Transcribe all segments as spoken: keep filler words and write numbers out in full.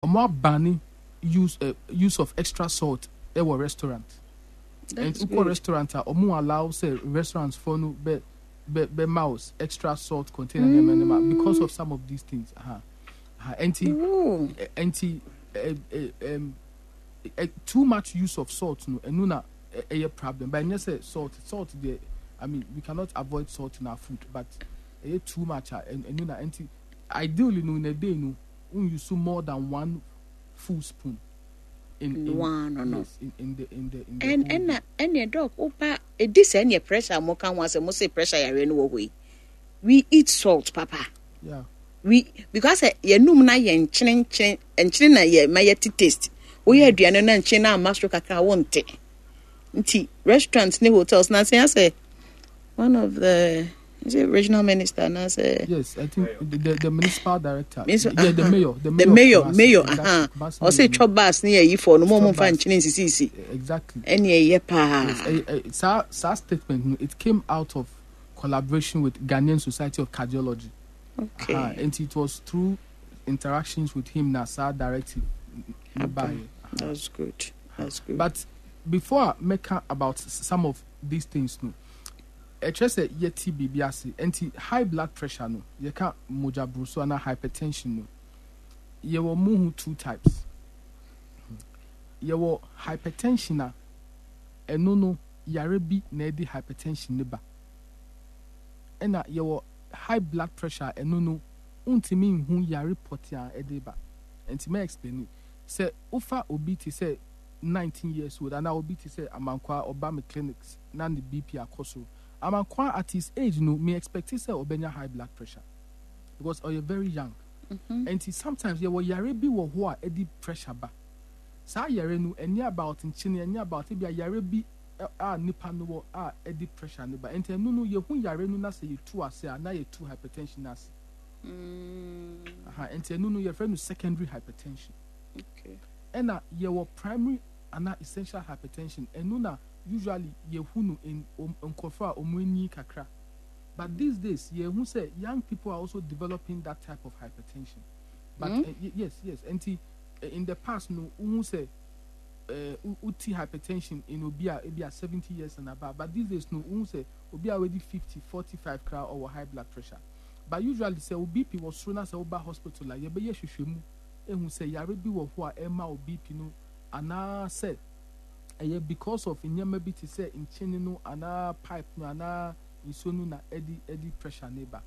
Ɔmo aban use uh, use of extra salt ɛwɔ restaurant. And That's wokɔ good. Restaurant a, ɔmo allow sɛ restaurants foɔ no bɛ bɛ bɛ mouse extra salt container nneɛma nneɛma because of some of these things. Aha aha nti Ooh. ɛ- nti ɛ ɛ um, ɛ, too much use of salt no, ɛno na ɛ- ɛyɛ problem. But ɛnyɛ sɛ salt salt deɛ, I mean, we cannot avoid salt in our food, but ɛyɛ too much a, ɛn- ɛno na. Nti ideally no, in a day no, won use more than one full spoon in in One no no. Yes, in in the in the in the ɛn whole ɛna day. Ɛnna doc, woba edi sɛ ɛnna pressure mo ka ho asɛ mo se pressure yare no wɔ hɔ yi, we eat salt papa. Yeah we because ɛ yɛnum na yɛ nkyene nkyene nkyene na yɛ ma yɛte taste. Woyɛ aduane na nkyene na ama so kakra, wonte. Nti restaurants ne hotels na sɛ asɛ one of the, is it regional minister na sɛ Yes, I think the the, the municipal director, Me nso, yeah, the uh-huh. mayor, the the mayor of mayor Kumasi, mayor exactly, aha Kumasi ɔsɛ mayor no. Chop bars ne yɛ yifoɔ no mo mo Chop nfa bars. nkyene nsisisi. Exactly. Ɛne ɛyɛ paa. Yes, eh, eh, saa saa statement no, it came out of collaboration with Ghanaian Society of Cardiology. Okay. Aha, and it was through interactions with him na saa directive no baeɛ. That's good, that's good. But before I make about s- some of these things no, ɛkyerɛ sɛ yɛte biribi ase. Nti high blood pressure no, yɛka mogya boroso anaa hypertension no, yɛwɔ mu hu two types. Yɛwɔ hypertension a ɛno no yare bi na ɛde hypertension ne ba, ɛna yɛwɔ high blood pressure a ɛno no ntumi nhu yare pɔte a ɛde ba. Nti mɛ explain it. Sɛ wofa obi te sɛ nineteen years old anaa obi te sɛ Amankwa, ɔba me clinics na ne B P akɔ soro, Amankwa at his age no, me expect sɛ ɔbɛnya high blood pressure because ɔyɛ very young. Nti sometimes yɛwɔ yare bi wɔ hɔ a ɛde pressure ba. Saa yare no, ɛnyɛ about nkyene, ɛnyɛ about ebi a yare bi ɛ- a nipa no wɔ a ɛde pressure no ba. Nti ɛno no, yɛhu yare no na sɛ yɛtu ase a, na yɛtu hypertension no ase. Aha, nti ɛno no yɛfrɛ no secondary hypertension. Okay. Ɛna yɛwɔ primary anaa essential hypertension. Ɛno na usually yɛhu no in om- nkurɔfoɔ a wɔn ani kakra, but these days yɛhu sɛ young people are also developing that type of hypertension. But Mm. uh, yes yes nti uh, in the past no, wohu sɛ uh, wote hypertension in obi a ebi a seventy years and above, but these days no, wohu sɛ obi a wadi fifty, forty-five koraa ɔwɔ high blood pressure. But usually sɛ wo B P wɔ soro na sɛ woba hospital a, yɛbɛyɛ hwehwɛmu ehu sɛ yare bi wɔ hɔ a ɛma wo B P no, anaasɛ ɛyɛ because of nneɛma bi te sɛ nkyene no anaa pipe no anaa nsuo no na ɛde ɛde pressure ne ba.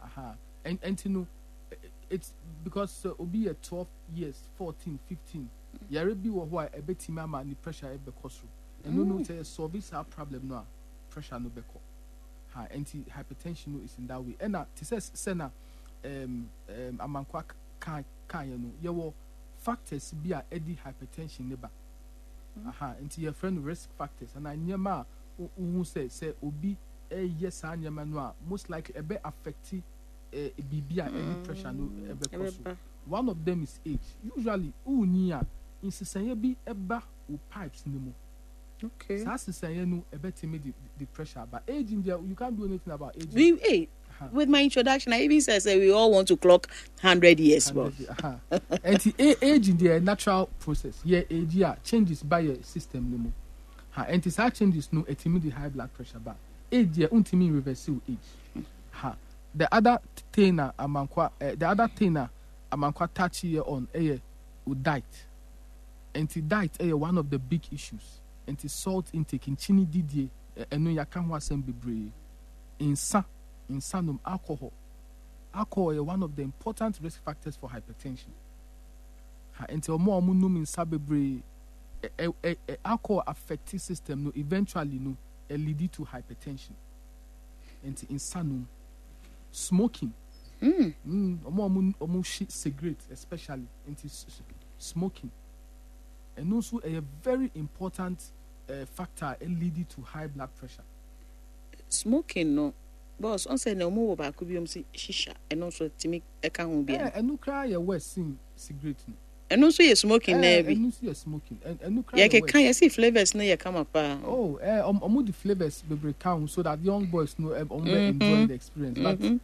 Aha, ɛn ɛnti no, ɛ- ɛ- it's because sɛ obi yɛ twelve years, fourteen, fifteen, yare bi wɔ hɔ a ɛbɛtumi ama ne pressure ɛbɛkɔ soro. Ɛno no, sɛ yɛ saa problem no a, pressure no bɛkɔ ha. Ɛnti hypertension no is in that way. Ɛna te sɛ sɛ na um, um, Amankwa ka kaeɛ no, yɛwɔ factors bi a ɛde hypertension ne ba. Aha, nti yɛfrɛ no risk factors anaa nneɛma a wo- wohu sɛ sɛ obi ɛyɛ saa nneɛma no a, most likely ɛbɛ affect eh, biribi a ɛde pressure no ɛbɛkɔ so. Ɛbɛba. One of them is age. Usually wonyi a, nsesɛeɛ bi ɛba wo pipes no mu. Okay. Saa nsesɛeɛ no ɛbɛtumi de de pressure aba. Aging deɛ, you can't do anything about aging. We, hey, Aha. with my introduction, I even said, say we all want to clock hundred years, bro. Aha. Nti a- aging deɛ, natural process. Yɛ age a, changes ba yɛ system no mu ha. Nti saa changes no ɛtumi de high blood pressure ba. Age deɛ, ntumi reverse wo age ha. The other thing na Amankwa eh, the other thing na Amankwa touch here on ɛyɛ wo diet. Nti diet ɛyɛ one of the big issues. Nti salt intake, nkyini didie, ɛ- ɛno yɛaka ho asɛm bebree. Nsa nsa nom, alcohol alcohol yɛ one of the important risk factors for hypertension ha. Nti ɔmo a ɔmo nom nsa bebree, ɛ ɛ ɛ ɛ alcohol affect system no, eventually no ɛ lead to hypertension. Nti nsa nom, smoking, Mm. mm, ɔmo a ɔmo ɔmo hye cigarette especially. Nti s- s- smoking ɛno nso ɛyɛ very important uh, factor a ɛ lead to high blood pressure. Smoking no, boss, on say na ɔmo wɔ baako bi ɔmo si shisha, ɛno nso timi ɛka ho bi. Ɛ ɛno koraa yɛ worse sin cigarette no. Ɛno nso yɛ smoking naa Ɛ bi. Ɛno nso yɛ smoking. Ɛ ɛno koraa yɛ yɛkeka worse. yɛsi flavours no yɛ kama paa. Oh, eh, ɔmo ɔmo de flavours bebree ka ho so that young boys no ɛ ɔmo bɛ Mhm. enjoy the experience, but Mhm.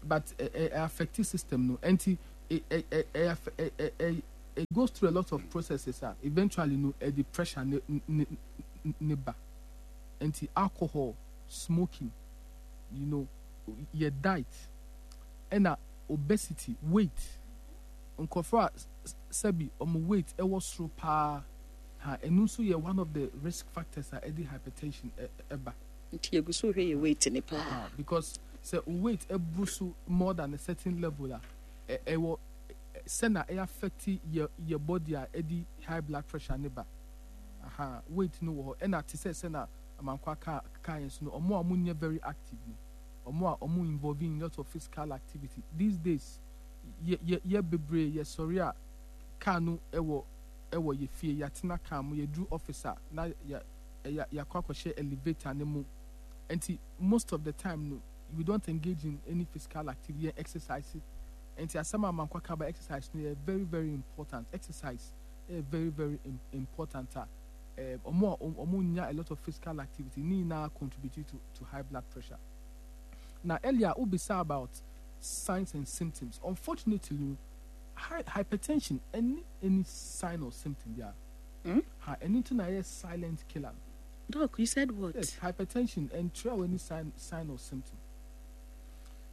but ɛ ɛ ɛ affect system no. Nti ɛ ɛ ɛ ɛ ɛ ɛ ɛ It goes through a lot of processes a eventually no, ɛde pressure ne ne ne ba. Nti alcohol, smoking, you know yɛ diet, ɛna obesity, weight. Nkurɔfoɔ a sɛbi ɔmo weight ɛwɔ soro paa ha, ɛno nso yɛ one of the risk factors a ɛde hypertension ɛba. Nti yɛgu so hwɛ yɛ weight ne paa. Ah, because sɛ weight ɛburu so more than a certain level a, ɛwɔ sɛna ɛyɛ affect yɛ yɛ body a ɛde high blood pressure ne ba. Aha, weight no wɔ hɔ, ɛna te sɛ sɛna Amankwa kaa kaa yɛn so no, ɔmo a ɔmo nyɛ very active no, ɔmo a ɔmo involving in lot of physical activity these days. Yɛ yɛ yɛ bebree yɛ sɔre a, car no ɛwɔ ɛwɔ yɛ fie, yɛatena car mu, yɛduru office a, na yɛ yɛ yɛakɔ akɔhyɛ elevator ne mu. Nti most of the time no, we don't engage in any physical activity, yɛn exercise. Nti asɛm a Amankwa ka ba exercise no yɛ very very important. Exercise ɛyɛ very very important a ɔmo a ɔmo nya a lot of physical activity ne nyinaa contribute to to high blood pressure. Na earlier wobisa about signs and symptoms. Unfortunately, high hypertension any any sign or symptom bia Mm? ha, ɛno nti na ɛyɛ silent killer. Doc, you said what? Yes, hypertension ɛnkyerɛ any sign sign or symptom.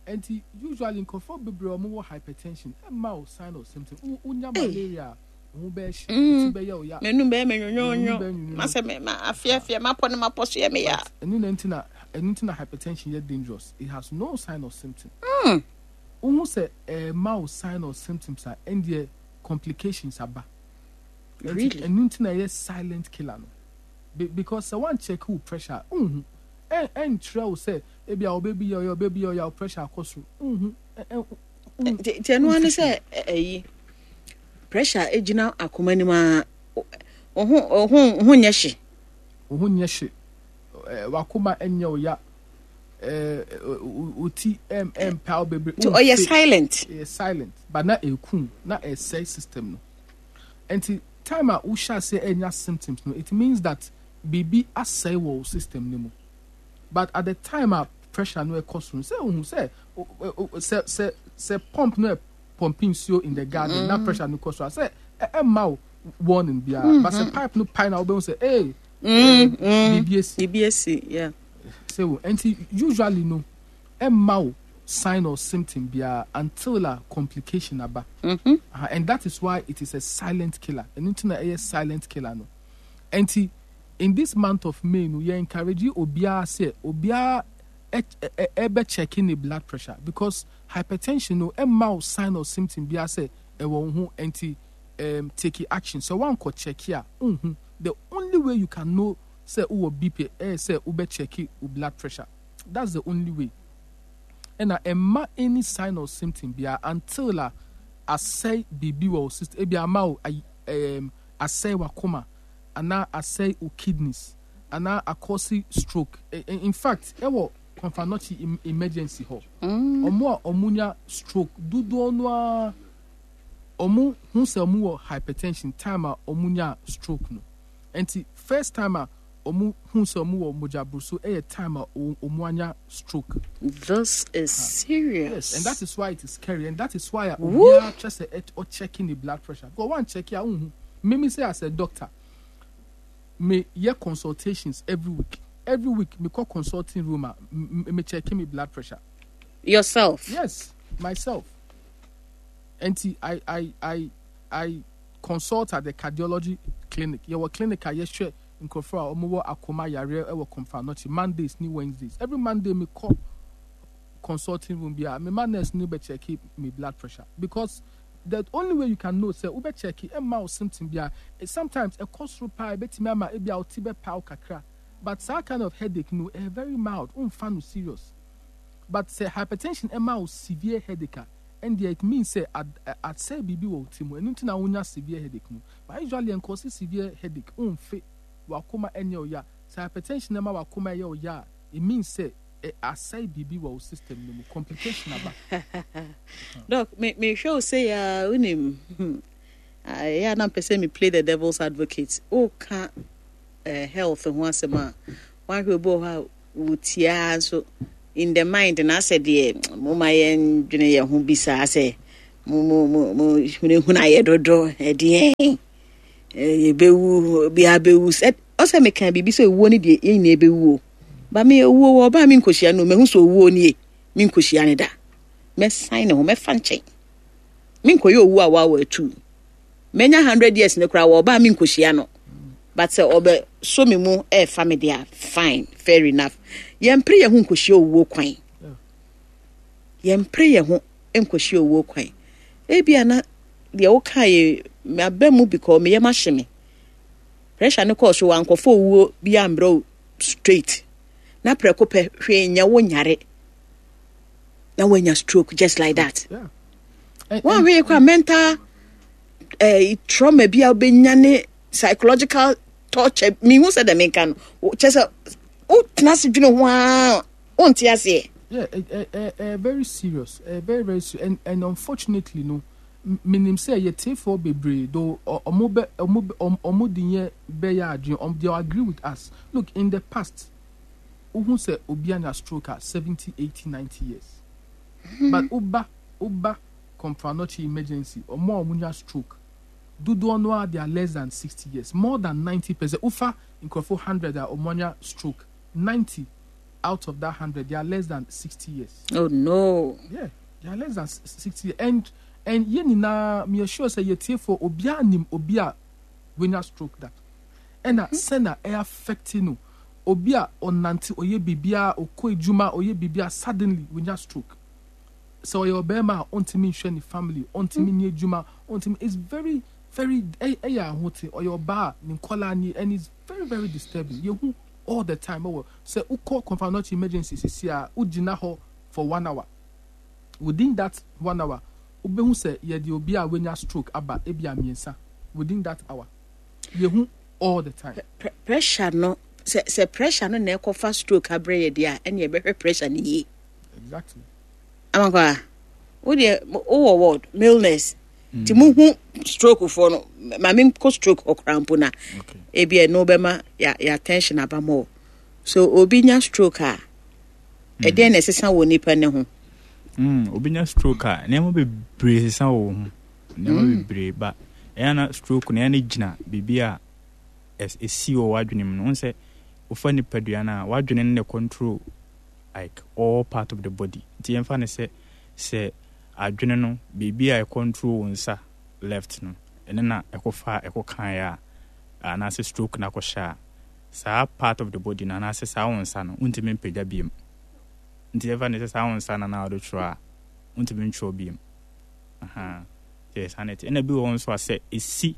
Nti usually nkurɔfoɔ bebree a wɔwɔ hypertension ɛmma o sign or symptom. Wo wonya Hey. malaria a, wo ho bɛyɛ hye, Mm. wo ti bɛyɛ wo ya. M'anum bɛyɛ me nwonwonwo. M'anum bɛyɛ nwonwonwo. Masɛ me ma afeɛfeɛ mapɔ ne mapɔ so yɛ me ya. But ɛno na nti na ɛno nti na hypertension yɛ dangerous. It has no sign or symptom. Mm. Wohu sɛ ɛɛma wo sign or symptoms a, ɛndeɛ complications aba. Nti Really? ɛno nti na ɛyɛ silent killer no. Be because sɛ one check wo pressure, nhu ɛ ɛnkyerɛ wo sɛ ebi a ɔbɛbi yɛ ɔyɛ ɔbɛbi yɛ ɔyɛ, wo pressure akɔ soro, nhu ɛ ɛ Nti nti ɛno ara ne sɛ ɛ- ɛyi pressure egyina akoma no mu a, wo ho wo ho wo ho nyɛ hye. Wo ho nyɛ hye, ɛɛ wakoma ɛnyɛ wo ya, ɛɛ wo ti ɛm ɛmpa wo bebree. Nti ɔyɛ womfe. Silent. Ɛyɛ silent, but na ekum na ɛsɛe system no. Nti time a wohyɛ ase ɛnya symptoms no, it means that biribi asɛe wɔ wo system no mu. But at the time a pressure no ɛkɔ soro, sɛ ohun sɛ o- o- o- sɛ sɛ sɛ pump no ɛ pump nsuo in the garden na pressure no kɔ soro a, sɛ ɛ ɛmma wo warning biara. But sɛ pipe no pae na wobɛhu sɛ ee Mm, mm. biribi esi. Biribi esi, yeah. Sɛ wo nti usually no, ɛmma wo sign or symptom biara until a complication aba. Mhm. Uh, and that is why it is a silent killer. Ɛno nti na ɛyɛ silent killer no. Nti in this month of May no, yɛ encourage obiara sɛ obiara ɛbɛ check ne blood pressure, because hypertension no ɛmma wo sign or symptom biara sɛ ɛwɔ wo ho. Nti um, take action. Sɛ wankɔ check a, nhu. The only way you can know sɛ wowɔ B P ɛyɛ sɛ wobɛ check wo blood pressure. That's the only way. Ɛna ɛmma any sign or symptom biara until a asɛe biribi wɔ wo system, ebi ama wo ayi ɛɛm asɛe w'akoma anaa asɛe wo kidneys anaa akɔsi stroke. Ɛ- ɛ- in fact, ɛwɔ Komfo Anokye em- emergency hɔ, ɔmo a ɔmo nya stroke dodoɔ no ara, ɔmo hu sɛ ɔmo wɔ hypertension time a ɔmo nya stroke no. Nti first time a ɔmo hu sɛ ɔmo wɔ mogyaboroso ɛyɛ time a ɔ- ɔmo anya stroke. This is serious. Yes, and that is why it is scary, and that is why a Woo! obiara kyerɛ sɛ ɛ- ɔchecking the blood pressure, because one check a, nhu. Me me say as a doctor, me yɛ consultations every week. Every week me kɔ consulting room a, m- m- me checking me blood pressure. Yourself? Yes, myself. Nti I I I I consult at the cardiology clinic. Yɛwɔ clinic a yɛhwɛ nkurɔfoɔ a wɔwɔ akoma yareɛ ɛwɔ Komfo Anokye, Mondays ne Wednesdays. Every Monday me kɔ consulting room bi a, me ma nurse no bɛ check me blood pressure, because the only way you can know sɛ wobɛ check, ɛmma wo symptom bi a, eh, sometimes ɛkɔ soro paa, ebɛtumi ama ebi a ɔti bɛ paw kakra, but saa kind of headache no ɛyɛ very mild, womfa no serious. But sɛ hypertension ɛma wo severe headache a, ɛndeɛ it means sɛ ad- ɛ- asɛe biribi wɔ wo ti mu. Ɛno nti na wonya severe headache no. But usually nkɔsi severe headache, womfe, wakoma ɛnyɛ wo ya. Sɛ hypertension ɛma wakoma ɛyɛ wo ya a, it means sɛ ɛ- asɛe biribi wɔ wo system no mu, complication aba. Doc, me me hwɛ wo sɛ ya, wonim ɛyɛ a na mpɛ sɛ me play the devil's advocate. Woka eh, health ho asɛm a, woahwɛ obi wɔ hɔ a wotiaa nso in the mind na asɛ deɛ moma yɛndwene yɛn ho bi saa sɛ Mo mo mo mo hunahuna yɛ dodo. Ɛdeɛn, yɛbɛwu, obiara bɛwu. Sɛ ɔsɛ meka biribi sɛ owuo no deɛ, yɛn nyinaa bɛwu o. Ba me owuo wɔ ɔbaa mi nkɔhyia no, mehu sɛ owuo nie, mi nkɔhyia ne da. Mɛsan ne ho, mɛfa nkyɛn. Mi nkɔyɛ owu a wawa atu. Mɛnya hundred years ne koraa wɔ ɔbaa mi nkɔhyia no. But sɛ ɔbɛ so me mu ɛɛfa me deɛ, fine, fair enough. Yɛmpere yɛn ho nkɔhyia owuo kwan. Yɛmpere yɛn ho nkɔhyia owuo kwan. Ebia na deɛ woka yɛ maba mu because meyɛ mahye me. Pressure no kɔɔ so, wankɔfo owuo bi ambrɛ straight. Na prɛko pɛ hwee nyɛ wo nyare. Na wanya stroke just like that. Yeah. Wɔn ahwɛ kora mental eh, trauma bi a wobɛnya ne psychological torture, mehu sɛ dɛ menka no, kyɛ sɛ wotena ase dwene ho a wonte aseɛ. Yeah, eh, eh, eh, eh, very serious, eh, very very serious, and and unfortunately no, minim sɛ yɛtiefoɔ bebree though, ɔmo bɛ ɔmo bɛ ɔmo de yɛ bɛyɛ adwene, ɔmo they agree with us. Look, in the past, wohu sɛ obi anya stroke at seventy, eighty, ninety years, mm-hmm. but woba woba Komfo Anokye emergency, ɔmo a ɔmo nya stroke dodoɔ no a, they are less than sixty years. More than ninety percent. Wofa nkurɔfo hundred a ɔmo anya stroke, ninety out of that hundred, they are less than sixty years. Oh no. Yeah, they are less than sixty years. And and yɛn nyinaa, me sure sɛ yɛtiefoɔ obiara nim obi a wenya stroke that. Ɛna sɛ ɛ affect no, obi a ɔnante, ɔyɛ biribiara, ɔkɔ edwuma, ɔyɛ biribiara, suddenly wenya stroke. Sɛ ɔyɛ ɔbɛrima a, ɔntumi nhwɛ ne family, ɔntumi nyɛ adwuma, ɔntumi. It's very very ɛyɛ ahote. Ɔyɛ ɔbaa a, ne nkɔlaa ni, and it's very very disturbing. Yehu all the time ɛwɔ sɛ wokɔ Komfo Anokye emergency sisi a, wogyina hɔ for one hour, within that one hour wobɛhu sɛ yɛde obi a wanya stroke aba ebi a mmiɛnsa within that hour. Yehu all the time. Pressure no, sɛ sɛ pressure no na ɛkɔfa stroke abrɛ yɛ deɛ a, ɛne yɛbɛhwɛ pressure no yie. Exactly. Amankwa, wo deɛ wowɔ ward, male nurse, nti muhu stroke foɔ no, maame nkɔ stroke hɔ koraa mpo na ebi ɛno bɛma yɛ yɛ attention aba mɔ so. Obi nya stroke a, ɛdeɛn na ɛsesa wɔ nipa ne ho? Mm, obi nya stroke a, nneɛma bebree sesa wɔ ho, nneɛma bebree ba. Ɛyɛ na stroke no ɛyɛ na gyina biribi a ɛsi wɔ w'adwene mu no. N sɛ wofa nipadua no a, w'adwene no na control like all part of the body. Nti yɛmfa no sɛ sɛ adwene no biribi a ɛcontrol wo nsa left no, ɛno na ɛkɔfa ɛkɔkaeɛ a, anaasɛ stroke no akɔhyɛ a, saa part of the body no anaasɛ saa wo nsa no, wontumi mpagya biom. Nti yɛmfa no sɛ saa wo nsa no na wode twerɛ a, wontumi ntwerɛ biom. Nti saa na ɛte. Ɛna bi wɔ hɔ nso a, sɛ ɛsi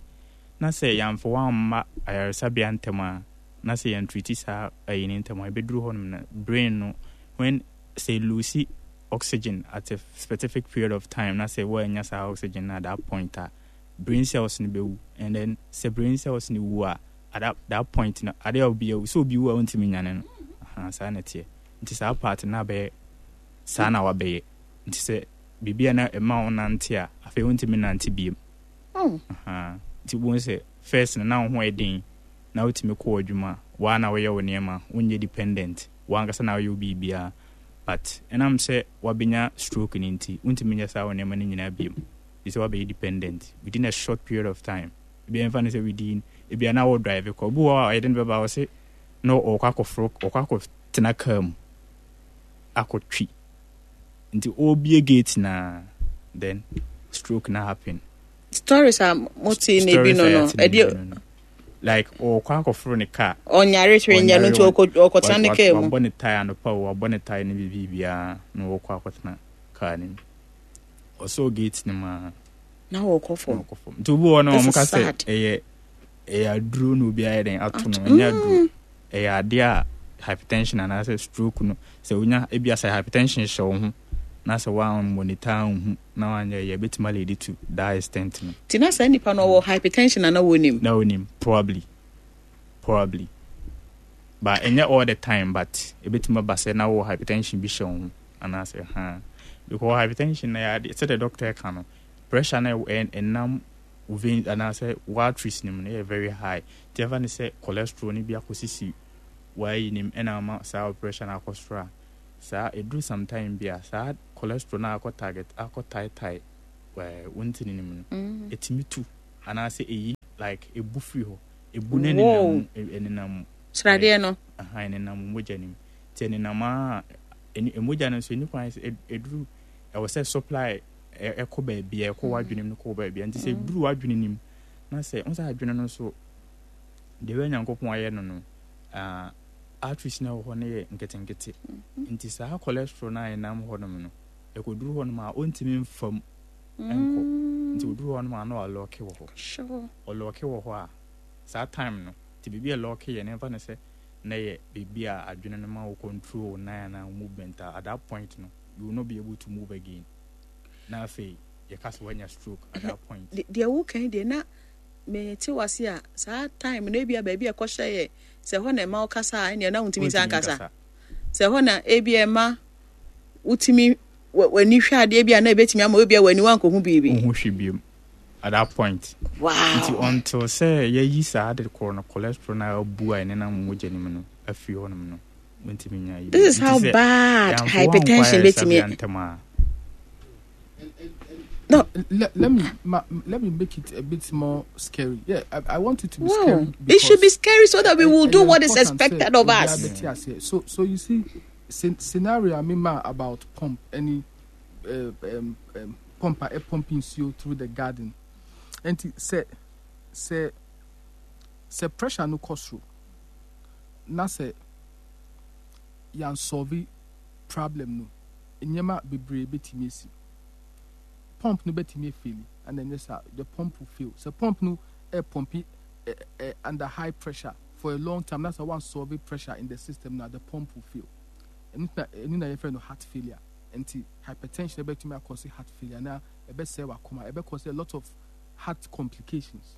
na sɛ yɛamfa wamma ayaresabea ntɛm a, na sɛ yɛntreat saa ayi no ntɛm a, ɛbɛduru hɔ nom no, brain no, when sɛ lose oxygen at a specific period of time na sɛ woanya saa oxygen no at that point a, brain cells no bɛwu. And then sɛ brain cells no wu a, at that, that point no, ade a obi awu sɛ obi wu a, wontumi nyane no. Aha, saa na ɛteɛ. Nti saa part no abɛyɛ saa na wabɛyɛ. Nti sɛ biribi a na ɛma wo nante a, afei wontumi nante biem. Oh. Nti wohu sɛ first no na wo ho ɛden na wotumi kɔ adwuma, waa na woyɛ wo nneɛma, wonyɛ dependent, wankasa na woyɛ wo biribiara. But ɛnam sɛ wabɛnya stroke no nti, wontumi nyɛ saa wo nneɛma no nyinaa biom, nti sɛ wabɛyɛ dependent within a short period of time. Ebi ɛmfa no sɛ within ebi a na wo drive kɔ, obi wɔ hɔ a ɔyɛ de no bɛba, wɔ se na ɔkɔ akɔforo, ɔkɔ akɔtena kaa mu akɔtwi, nti ɔrebie gate na then stroke na happen. Stories a mote na ebi no no ɛdeɛ Like ɔkɔ akɔforo ne car. Ɔnyare hwee nyɛ no, nti ɔkɔtena ne kaa mu. Wabɔ ne tyre anɔpa o, wabɔ ne tyre ne biribiara na ɔkɔ akɔtena car no mu, ɔsɔɔ gate no mu a na wɔkɔ fam. Ɔkɔ fam. Nti obi wɔ hɔ no, ɔmo ka sɛ ɛyɛ ɛyɛ aduro na obi ayɛ dɛn ato no. Ɛnyɛ aduro, ɛyɛ adeɛ a hypertension anaasɛ stroke no, sɛ wonya ebi asɛ hypertension hyɛ wo ho na sɛ woan monitor anhu na wanyɛ yɛ, ebɛtumi lead to that extent no. Nti na saa nipa no ɔwɔ hypertension ana wɔnim? Na onim, probably probably but ɛnyɛ all the time, but ebɛtumi aba sɛ na wɔ hypertension bi hyɛ wo ho anaasɛ ha, because hypertension na yɛ ade sɛ the doctor ka no, pressure na ɛnam wo veins anaasɛ wo arteries no mu no yɛ very high. Nti ɛfa ne sɛ cholesterol no bi akɔsisi w'ayi nim ɛna ama saa pressure no akɔ soro a, saa ɛduru sometime bi a, saa cholesterol no akɔ target akɔ taetae ɛɛ wo ntini no mu no, ɛtumi tu anaasɛ ɛyi, like ɛbu firi hɔ, ɛbu ne nenam ɛnenam sradeɛ no. Aha, ɛnenam mogya no mu, nti ɛnenam a ɛni mogya no nso ɛni kwan sɛ ɛduru, ɛwɔ sɛ supply ɛkɔ baabi a ɛkɔ w'adwene mu no kɔ baabi a. Nti sɛ ɛduru w'adwene no mu na sɛ wo sɛ adwene no nso deɛ ɛbɛyɛ Nyankopɔn ayɛ no no uh, arteries no ɛwɔ hɔ no yɛ nketenkete, nti saa cholesterol no a ɛnam hɔ nom no ɛkɔduru hɔ nom a, ɔntumi mfam ɛnkɔ, nti ɔduru hɔ nom a na walock wɔ hɔ. Sure. Ɔlock wɔ hɔ a, saa time no nti biribi a lock yɛ ne mfa no sɛ na yɛ biribi a adwene no ma wo control wo nan anaa wo movement a, at that point no you will not be able to move again, na afei yɛka sɛ woanya stroke at that point. De- deɛ woka yi deɛ na mete wase a, saa time no ebia baabi a ɛkɔhyɛ yɛ sɛ hɔ na ɛma wo kasa a, ɛneɛ na wontumi nsa Wontumi nkasa, sɛ hɔ na ebia ɛma wotumi w'ani hwɛ adeɛ bi a na ebɛtumi ama ebia w'ani wankɔhu biribi. Wohu hwɛ biom at that point. Wow nti until sɛ yɛyi saa de korɔ no, cholesterol no abu a ɛnenam mogya no mu no afiri hɔnom no, wontumi nya yi. This is how bad hypertension bɛtumi ntɛm a No. Let, let me ma, let me make it a bit more scary. Yeah, I, I want it to be Wow. scary. It should be because scary so that we will ɛyɛ do what is important sɛ expected of obiara us. bɛte aseɛ. So so you see, scen- scenario a mema about pump any uh, um, um, pump a pump nsuo through the garden. Nti sɛ sɛ sɛ pressure no kɔ soro na sɛ yɛansolve problem no, nneɛma bebree bɛtumi esi. Pump no bɛtumi afail, and then yes, the pump will fail. Sɛ pump no ɛ pump ɛ ɛ under high pressure for a long time, that's why solve pressure in the system now, the pump will fail. Ɛno na ɛno na yɛfrɛ no heart failure. Nti hypertension ɛbɛtumi akɔsi heart failure na ɛbɛsɛe wakoma, ɛbɛkɔsi a lot of heart complications.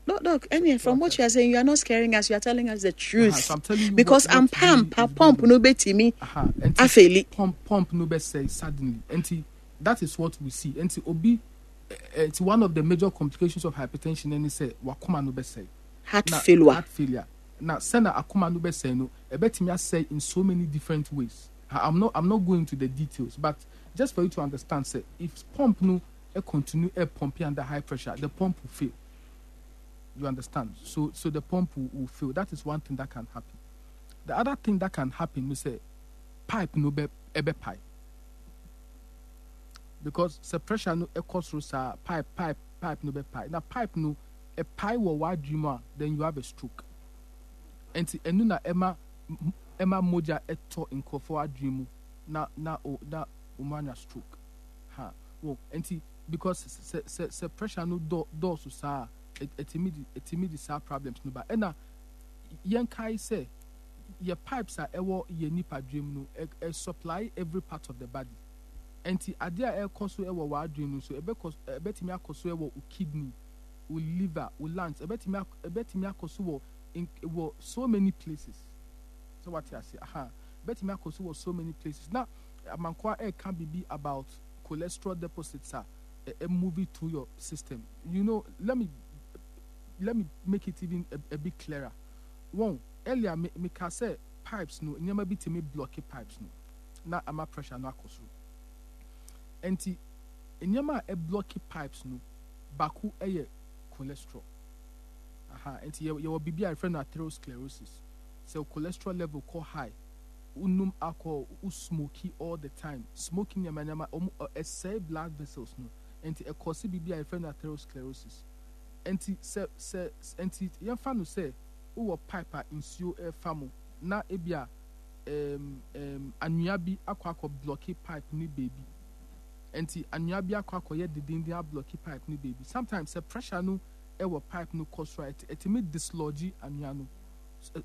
Look, look, anyway, from what you are saying, you are not scaring us, you are telling us the truth. Aha, so I'm telling you Because what- what ampa really ampa is pump going no bɛtumi Aha, nti afail. pump pump no bɛsɛe suddenly. Nti that is what we see. Nti obi eh, eh, nti one of the major complications of hypertension ɛne sɛ wakoma no bɛsɛe. Heart Na failure. Heart failure. Na sɛna akoma no bɛsɛe no, ɛbɛtumi asɛe in so many different ways. I- i'm not i'm not going to the details, but just for you to understand sɛ if pump no ɛ continue ɛ pump under high pressure, the pump will fail. You understand? So so the pump will, will fail. That is one thing that can happen. The other thing that can happen no sɛ pipe no bɛ ɛbɛ pae, because sɛ pressure no ɛkɔ soro saa, pipe pipe pipe no bɛ pae, na pipe no ɛpae wɔ w'adwene mu a, then you have a stroke. Nti ɛno na ɛma m- ɛma mogya ɛtɔ nkurɔfoɔ adwene mu na na o na wɔn anya stroke ha wo. Nti because sɛ sɛ sɛ pressure no dɔ dɔɔso saa a, ɛtumi di ɛtumi di saa problems no ba. Ɛna yɛnkae sɛ yɛ pipes a ɛwɔ yɛ nipadua mu no ɛ ɛ supply every part of the body. Nti adeɛ a ɛrekɔ so ɛwɔ w'adwene no so, ɛbɛkɔ ɛbɛtumi akɔ so ɛwɔ wo kidney, wo liver, wo lungs, ɛbɛtumi ak ɛbɛtumi akɔ so wɔ in wɔ so many places. Sɛ wate ase? Aha, ɛbɛtumi akɔ so wɔ so many places. Na Amankoa ɛreka biribi about cholesterol deposits a ɛ ɛ move it through your system. You know, let me let me make it even a, a bit clearer. One earlier me me ka sɛ pipes no, nneɛma bi tumi block pipes no na ama pressure no akɔ soro. Nti nneɛma a ɛblock pipes no baako yɛ cholesterol. Aha, nti yɛ yɛwɔ biribi a yɛfrɛ no atherosclerosis. Sɛ cholesterol level kɔ high, wonum alcohol, wo smoke all the time, smoking nneɛma nneɛma ɔmo ɛsɛe blood vessels no, nti ɛkɔsi biribi a yɛfrɛ no atherosclerosis. Nti sɛ sɛ nti yɛmfa no sɛ wowɔ pipe a nsuo ɛfa mu, na ebi a ɛɛm ɛɛm anwea bi akɔ akɔ block pipe ne beebi, nti anwea bi akɔ akɔyɛ dedenden ablock pipe ne beebi. Sometimes sɛ pressure no ɛwɔ pipe no kɔ soro a, ɛtumi dislodge anwea no.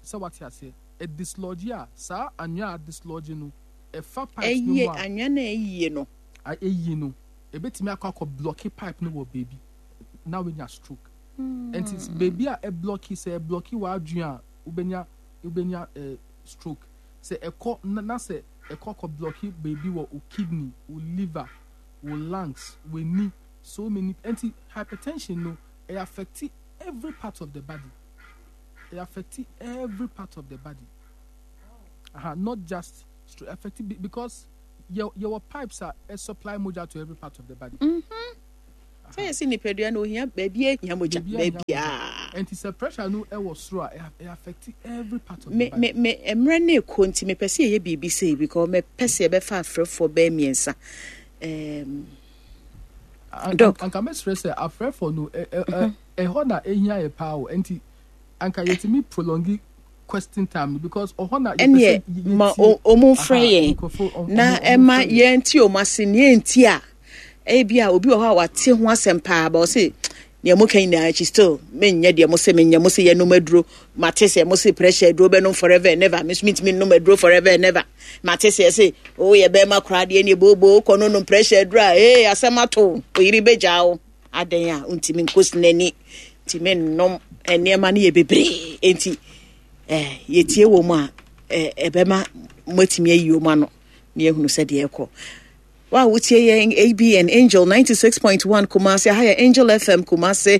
Sɛ wate aseɛ? Ɛdislodge a, saa anwea a dislodge no ɛfa pipe no ɛyie mu a anwea na ɛyie no. A ɛyie no ebetumi akɔ akɔ block pipe no wɔ beebi na wenya stroke. Nti beebi a ɛblock, sɛ ɛblock w'adwene a, wobɛnya wobɛnya ɛɛ stroke. Sɛ ɛkɔ na na sɛ ɛkɔ kɔ block beebi wɔ wo kidney, wo liver, wo lungs, w'ani, so many. Nti hypertension no ɛyɛ affect every part of the body. Ɛyɛ affect every part of the body. Aha, not just stroke, affect because yɛ yɛwɔ pipes a ɛ supply mogya to every part of the body. Mm-hmm. Sɛ yɛsi nipadua no ohia baabi ehia mogya. Baabi a ehia baabiaa. Nti sɛ pressure no ɛwɔ soro a, ɛ ɛ affect every part of Me the body. me me mmerɛ ne kɔ nti mepɛ sɛ yɛyɛ biribi sei because mepɛ sɛ yɛbɛfa afrɛfoɔ bɛyɛ mmiɛnsa. Um, An- Doc. Anka mɛsrɛ sɛ afrɛfoɔ no ɛ ɛ ɛ ɛhɔ na ehia yɛ paa o. Nti anka yɛtumi prolong question time no because ɔhɔ na yɛpɛ Ɛneɛ sɛ yɛ- ma yɛtie. o- ɔmo mfrɛ Aha, yɛn nkurɔfoɔ, ɔm- na ɔmo- ɔmo ɛma mfrɛ yɛn. yɛnti ɔmo ase nea nti a ebi a obi wɔ hɔ a wate ho asɛm paa ba ɔse nea mo ka nyinaa akyi, still menyɛ deɛ mo se menyɛ. Mo se yɛnom aduro, mate sɛ mo se pressure aduro bɛnom forever and never. Me so mentumi nnom aduro forever and never. Mate sɛ yɛse woyɛ bɛrima koraa deɛ ne booboo kɔ no nom pressure aduro a ee asɛm ato oyere bɛgyaa wo adɛn a wontumi nkɔsi n'ani nti mennom. Nneɛma no yɛ bebree enti eh, yɛtie wɔ mu a eh, ɛbɛma moatumi ayi wɔ mu ano na yɛhunu sɛdeɛ ɛkɔ. Wa wotie yɛn A B N Angel ninety-six point one Kumasi. Ha yɛ Angel F M Kumasi.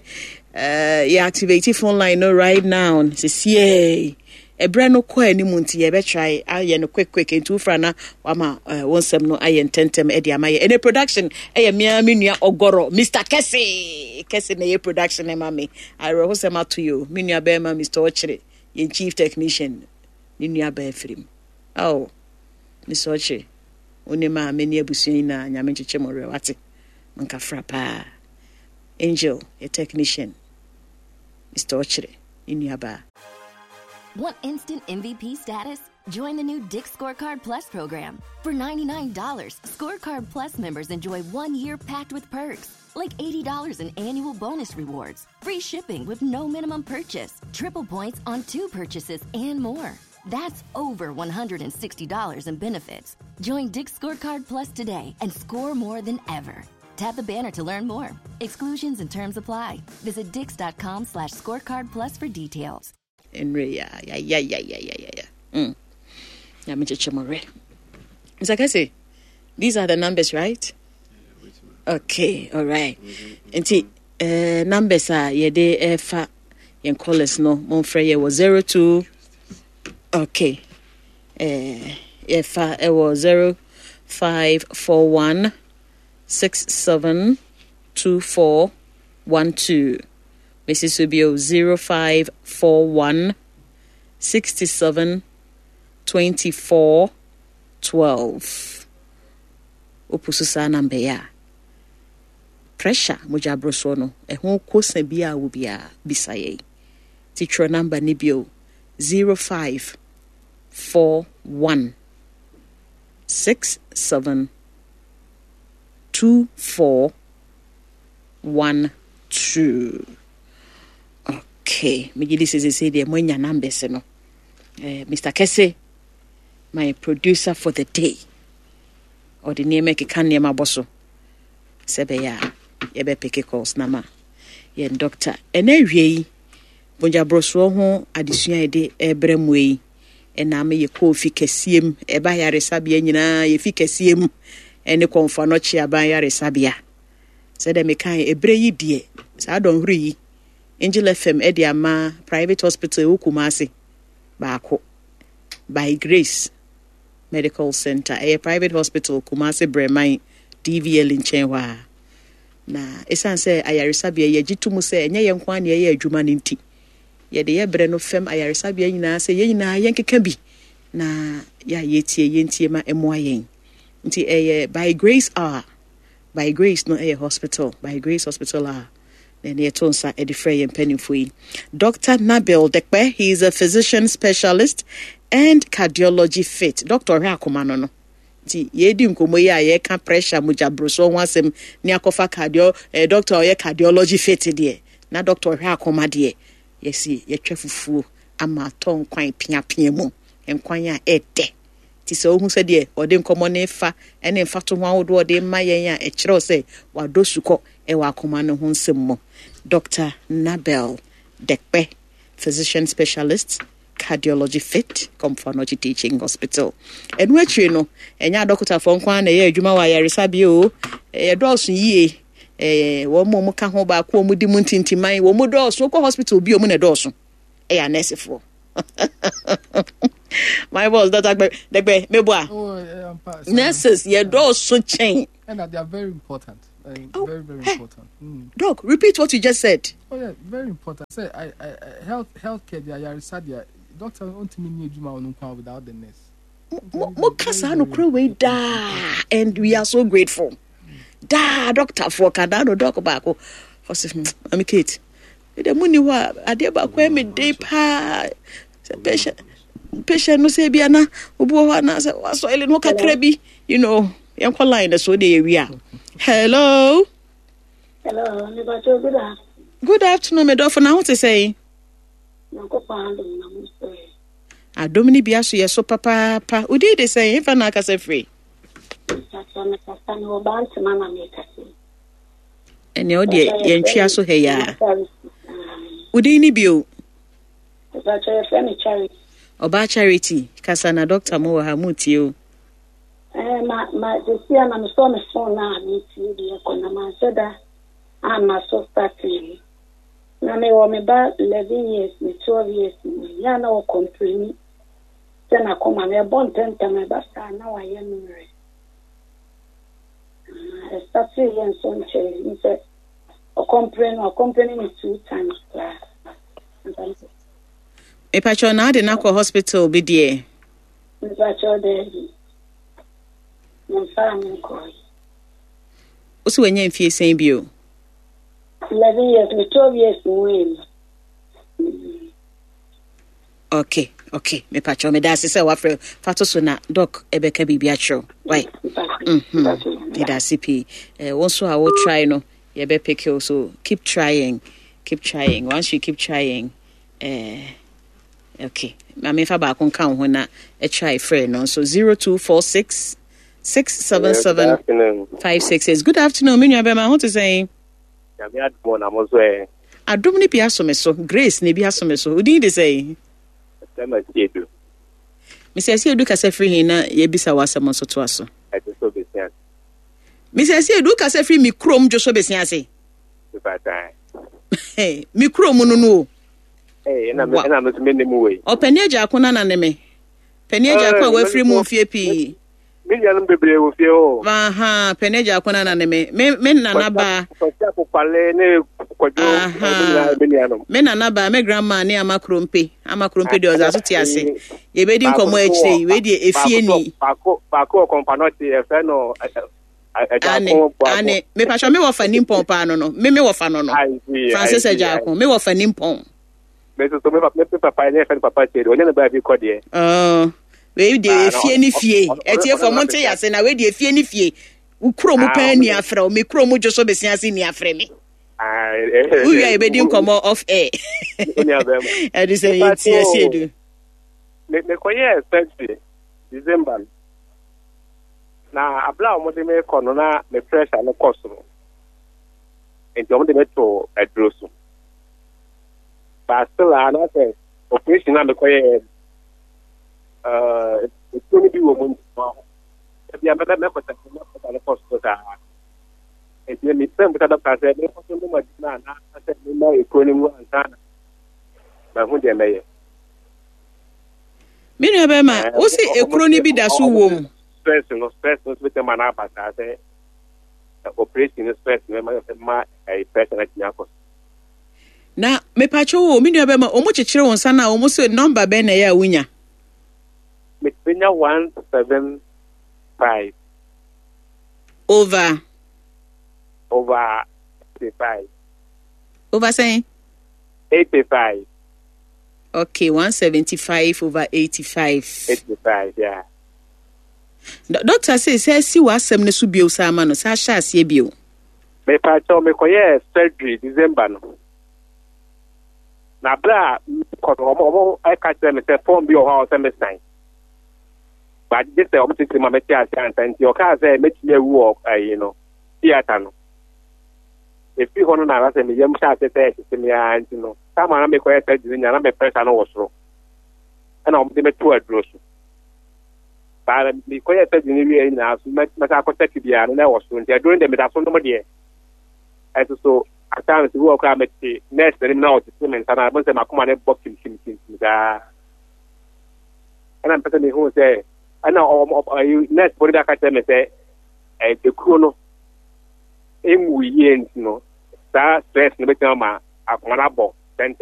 uh, yɛ activate phone line no right now sesie. Ɛberɛ no kɔ anim nti yɛbɛtry ayɛ no quick quick, nti wofra na wama uh, wo nsɛm no ayɛ ntɛntɛm ɛde ama yɛ. Ɛne production ɛyɛ mea me nua Ɔgɔrɔ Mister Kɛse Kɛse na ɛyɛ production ɛma me. Awerɛhosɛm ato yi o, me nua bɛrima Mister Ɔkyere, yɛn chief technician, ne nua bɛɛ firim. Oh, Mister Ɔkyere, wo ne maame ne abusua nyinaa, Nyame nkyekyɛ mo werɛ wate nkafra paa. Angel yɛ technician Mister Ɔkyere ne nuabaa. Want instant M V P status? Join the new Dick's Scorecard Plus program. For ninety-nine dollars Scorecard Plus members enjoy one year packed with perks, like eighty dollars in annual bonus rewards, free shipping with no minimum purchase, triple points on two purchases, and more. That's over one hundred sixty dollars in benefits. Join Dick's Scorecard Plus today and score more than ever. Tap the banner to learn more. Exclusions and terms apply. Visit dicks dot com slash scorecard plus for details. Mmerɛ ya ya ya ya ya ya ya ya mm. Nyame nkyekyɛ mo werɛ. Mister Kɛse, these are the numbers, right? Okay, all right. Nti uh, numbers a yɛde ɛfa yɛn callers no, momfrɛ yɛ wɔ zero two, okay, uh, yɛfa ɛwɔ zero five four one six seven two four one two. Missus Subio, zero five four one sixty-seven twenty-four twelve. Wopusu saa number yi a, pressure, mogya aborosoɔ no ɛho kosa bi a wo biara bisa yɛn. Ti twerɛ number ne bio, zero five four one six seven two four one two. Okay, megye di sɛ sɛsɛ deɛ moanya numbers no. eh, Mister Kɛse, my producer for the day, ɔde nneɛma keka nneɛma bɔ so sɛ ɛbɛyɛ a yɛbɛpick calls na ma yɛn doctor. Ɛna awie yi, bɔgyaborosoɔ ho adesua a yɛde ɛbrɛ mu yi, ɛna ama yɛkɔɔ fi kɛseɛ mu ɛba yaresabea nyinaa, yɛfi kɛseɛ mu ɛne Kɔmfo Anɔkye aban yaresabea. Sɛdeɛ mekae, ɛberɛ yi deɛ saa dɔnhwere yi Angel F M ɛde ama private hospital ɛwɔ Kumase baako, By Grace Medical Center. Ɛyɛ private hospital, Kumase Brɛman D V L nkyɛn hɔ a. Na ɛsiane sɛ ayaresabea yɛgye to mu sɛ ɛnyɛ yɛn nko ara na yɛyɛ adwuma no nti, yɛde yɛ berɛ no fam ayaresabea nyinaa sɛ yɛn nyinaa yɛnkeka bi na yɛ a yɛtie yɛntie ma ɛmmoa yɛn. Nti ɛyɛ By Grace a By Grace no ɛyɛ hospital, By Grace Hospital a na ɛne yɛto nsa ɛde frɛ yɛn mpanimfoɔ yi, Doctor Nabil Dekpe. He is a physician specialist and cardiology fit doctor. Ɔhwɛ akoma no no nti yɛdi nkɔmmɔ yi a yɛka pressure, mogyaborosoɔ ho asɛm ne akɔfa cardio eh, doctor a ɔyɛ cardiology fit deɛ na doctor ɔhwɛ akoma deɛ, yɛsi yɛtwa fufuo ama atɔ nkwan piapia mu, nkwan a ɛdɛ. Nti sɛ wohu sɛ deɛ ɔde nkɔmmɔ ne fa ne mfato ho ahodoɔ ɔde ma yɛn a, ɛkyerɛw sɛ wadɔ sukɔ ɛwɔ akoma no ho nsɛm mu. Doctor Nabel Dekpe, physician specialist, cardiology fit, Kɔmfo Anɔkye Teaching Hospital. Ɛno akyire no, ɛnyɛ adɔkotafoɔ nko ara na ɛyɛ adwuma wɔ ayaresabea o, ɛyɛ dɔɔso yie. Ɛɛ wɔn mu a wɔka ho baako a wɔdi mu ntintiman, wɔn mu dɔɔso. Wokɔ hospital bi, wɔn na ɛdɔɔso ɛyɛ anɛɛsefoɔ. My boss, Doctor Dɛgbɛ Meboa. Oh, yeah, ampa, saa. Nurses yɛ dɔɔso kyɛn. And that they are very important. Uh, Oh, very, very hey. important. Mm. Doc, repeat what you just said. Oh yeah, very important. Say, I, I, I health, healthcare, they are are doctor ontumi ni edwuma ono kwa without the nurse. Mo mo ka saa nokorɛ wei daa and we are so grateful. Daa doctorfoɔ ka daa no doc baako ɔsɛ hmm Mami Kate ɛdɛ mu ni hɔ a adeɛ baako ɛyɛ me den paa sɛ patient patient no sɛ ebi ana obi wɔ hɔ anaasɛ wasɔ ɛle no kakra bi you know yɛnkɔ line no so de yɛ wia. Hello. Hello, mepakyɛw, good afternoon. Good afternoon, medɔfo na ho te sɛn? Nyankopɔn adom na mo sɛ. Adom no bi aso yɛ so papaapa. Wodin de sɛn? Ɛmfa na akasa firi? Mepakyɛw, mekasa me wɔ Bantama na mekasa. Ɛnea wo deɛ yɛntwea so ha yi a. Wodin ne bio? Mepakyɛw, yɛfrɛ me Charity. Ɔbaa Charity, kasa na doctor mo wɔ ha, mo tie o. Eh, ma ma sisi a na mesɔ me phone na metie deɛ kɔ na manhyɛ da amma so starting. Na mewɔ me ba eleven years ne twelve years mu. Yɛ a na wɔcomplaini sɛ n'akoma no ɛbɔ ntɛmntɛm, ɛba saa na wayɛ no mmerɛ. Ɛstartee yɛ nso nkyɛe sɛ ɔcomplaini no ɔcomplaini no two times koraa. Mepakyɛw, na ade no akɔ hospital bi deɛ? Mepakyɛw, daabi. Memfaa me nkɔe. Wo sɛ wanya mfie sɛn bio? Eleven years, me twelve years mu ɛ no. Okay, okay. Mepakyɛw, meda ase sɛ wafrɛ fa to so na doc ɛbɛka biribi akyerɛw. Why? Mhm. Meda ase pii. Eh, wo nso a wo try no, yɛbɛpick you, so keep trying. Keep trying. Once you keep trying, eh, okay. Ma memfa baako nka wo ho na try frɛ no nso zero two four six six seven seven Good afternoon. five six six. Good afternoon, me nua bɛma ho te sɛn? Nyame adom na mo nso ɛ? Adom no bi aso me so, grace na bi aso me so. Wodin de sɛn? Sɛma Siedu. Mister Asiedu, kasa firi hin na yɛbisa w'asɛm nso toa so? Ɛte sɛ obesia. Mister Asiedu, kasa firi me kurom dwo so besia ase. Sipatan. Me kurom no no o. Ee, ɛna me Wa- ɛna me nso me nim wei. Ɔpani agya ako nana ne me pani agya ako a wafiri mu mfie pii. Me nuanom bebree wɔ fie hɔ. Aha, pani agya ako nana ne me me me nana baa. Kwasi Akopale ne Kwadwo. Aha. Ɛmo nyinaa me nuanom. Me nana baa, me grandma ne ama kurompe ama kurompe deɛ ɔdze aso te ase. Yɛbɛdi Baako nkɔmmɔ nso akyire wɔ- yi. Wei deɛ efie baako ni. Baako baako wɔ Kɔmpanɔte, yɛfrɛ no ɛ- ɛ- ane Agya Ako. Ane mepatwa me wɔfa nimpɔn paa no no me me wɔfa no no I see, I Francis see, Agya Ako, me wɔfa nimpɔn. Me nso so me papa me papa ne yɛfrɛ no Papa Kyeri, ɔnyɛ ne baabi kɔ deɛ. Ɔɔ, wei deɛ Ah, na efie ɔno- ne fie. ɔno- ɔno- Ɛtiefo ɔno- mo nte yase na wei deɛ efie ne fie, wo kurom Ah, paa ɔno- ni afrɛ wo, me kurom dwo so besia ase ni afrɛ me. Ah, eh, eh, Wowie a yɛbɛdi nkɔmmɔ off air. Onua bɛrima. Ɛde sɛ Mepa yɛtie kyɛw. Asiedu. Me mekɔyɛɛ surgery December no. Na abla a wɔde me kɔ no na me pressure no kɔ soro. Nti wɔde me to aduro so. But still a na sɛ operation na mekɔyɛɛ ɛɛ etuo no bi wɔ mu nti no ebi a mɛbɛ mɛkɔta mɛkɔta no kɔ soro saa. Nti me sɛ mbisa doctor sɛ mekɔ so nom aduro anaa sɛ mema ekuro no mu ansa na mahu deɛ mɛyɛ. Me nua bɛrima, Eh, wo se ɔmo- ekuro no bi da so ɔmo- wɔ mu? Stress no stress no nso bɛtumi ma no aba saa sɛ ɛ, operation no stress no ma ma ɛyɛ pressure no atumi akɔ so. Na mepatwa wo, me nua bɛrima, ɔmo kyekyere wo nsa no a ɔmo sɛ number bɛn na ɛyɛ a wonya? Metumi nya one seven five over over eighty five. Over sɛn? Eighty five. Okay, one seventy-five over eighty-five. Eighty five, yeah. Do- doctor sɛ sɛ asi w'asɛm no so bio saa ama no saa ahyɛ aseɛ bio. Mepakyɛw, mekɔyɛɛ surgery December no na abere a mekɔ no ɔmo ɔmo ɛka kyerɛ me sɛ form bi wɔ hɔ a ɔsɛ me sign but gye sɛ ɔmo tete ma mɛte ase ansa. Nti ɔkaa sɛ mɛtumi awu wɔ ɛyi no theatre no. Efi hɔ no na asɛ meyam hyɛ ase sɛ ɛtete me ara. Nti no time a na mekɔyɛ surgery nya na me pressure no wɔ soro ɛna ɔmo de me to aduro so. Baa mekɔyɛ surgery no wie nyinaa so mɛsa akɔ check biara no na ɛwɔ soro. Nti aduro no deɛ meda so nom deɛ ɛso so at times bi wɔ koraa mete nurse n'anim na ɔtete me nsa na mo sɛ makoma ne bɔ kim kim kim kim saa. Ɛna mpɛ sɛ mehu sɛ ɛna ɔmo ɛyi nurse bɔ ne bi aka kyerɛ me sɛ ɛyɛ ekuro no. Emu yie nti no saa stress no bɛtumi ama akoma no abɔ ntɛntɛm.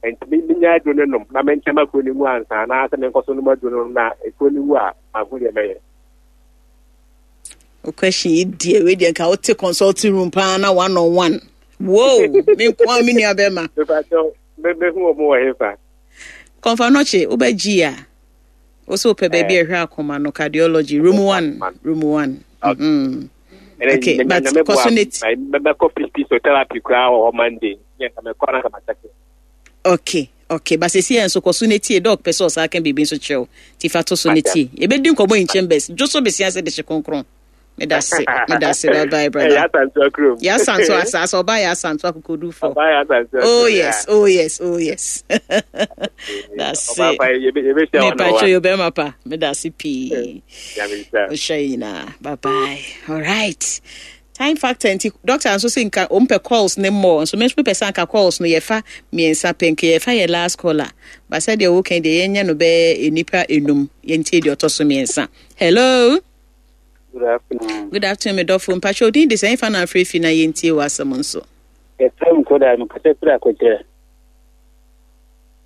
Nti menya aduro no nom na menkyɛn ma kuro no mu ansa anaasɛ menkɔ so nom aduro no nom na kuro no wu a maho deɛ mɛyɛ. O question yi deɛ, wei deɛ nka wote consulting room paa na one on one. Whoa, me nko a me nua bɛma. Mepakyɛw, mehu wɔ mo wɔ hefa? Kɔmfa Nɔkye, wobɛgye a wo sɛ wopɛ baabi a ɛhwɛ akoma no, cardiology, room one, room one. Mm. Okay, but kɔ so ne ti. Mɛkɔ physiotherapy koraa wɔ hɔ Monday. Yɛ nka mɛkɔ na nka makyɛke. Okay, okay. But sɛsi yɛn nso kɔ so ne tie. Doc pɛ sɛ ɔsaa ka biribi nso kyerɛ wo. Ti fa to so ne tie. Yɛbɛdi nkɔmmɔ in chambers. Dwo so besia sɛ de hye kronkron. Meda se, meda se. Bye bye, brother. Yɛ Asanto kurom. Yɛ Asanto asase, ɔba yɛ Asanto akokodufo. Ɔba yɛ Asanto. Oh yes, oh yes, oh yes. That's it. Yɛbɛhyia wɔn Mepa kyɛ yɛ bɛrima pa. Meda se pii. Nyame nhyira. Ɔhyɛ yi nyinaa. Bye bye. All right. Time factor nti doctor nso sɛ nka ɔmpɛ calls ne mmɔ nso, me nso mepɛ sɛ anka calls no yɛfa mmiɛnsa pɛ, nka yɛfa yɛ last caller ba sɛdeɛ woka deɛ yɛnyɛ no bɛyɛ nnipa enum. Yɛntie deɛ ɔtɔ so mmiɛnsa. Hello. Good afternoon. Good afternoon, me dɔfo. Mpakyɛ odin de sɛ ɛmfa na afrɛ fi na yɛntie wɔ asɛm nso. Yɛfrɛ me Kodare, mekasa firi Akwakyerɛ.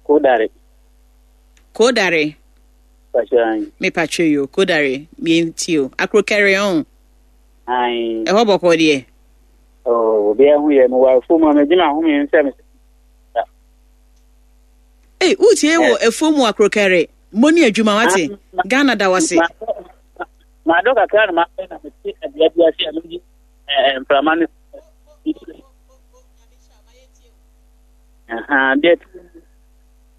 Kodare. Kodare. Pakyɛ. Mepakyɛ yo, Kodare, yɛntie o. Akrokɛre ɔn. Ae. Ɛhɔ bɔkɔ deɛ? Oh, obiara ho yɛ, mewɔ afuom a megye m'ahome sɛ me. Ei, wotie wɔ afuom wɔ Akrokɛre. Mmɔ ne adwuma wate. Ghana da wase. Maadɔ kakra na mapɛ na mete adua bi ase a megye eh, mframa no. Aha, deɛ